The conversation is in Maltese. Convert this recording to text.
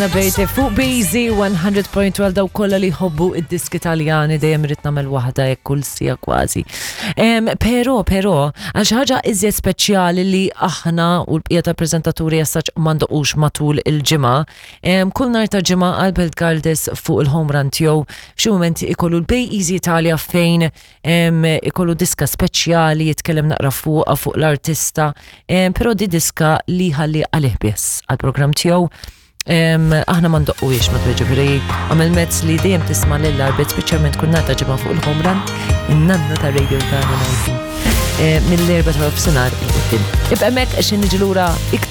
Bejte fuq Busy 100.12 daw kollha li jħobbu id-diski Taljani dejjem irid nagħmel waħda hekk kull sija kważi. Però, però, għal xi ħaġa iżjed speċjali li aħna u l-bqija ta' preżentaturi jassaċ ma ndoqux matul il-ġimgħa, kull nhar ta' ġimgħa Albert Galdes fuq il-home run tiegħu f'xi mument ikollu l-Bay Easy Italia fejn ikollu diska speċjali jitkellem naqra fuqha fuq l-artista, però di diska li ħalli għalih biss għall-programm tiegħu Aħna ma ndoqquhiex ma ġifieri għamel mezz li dejjem tisma' lil Arbet speċjalment kull nhar ta' ġimgħa fuq il-home run, in-nanna ta' radio tagħna ngħidu. Mill-erba' ta' nofsinhar il-quddiem. Ibqa' hemmhekk għax niġi lura iktar.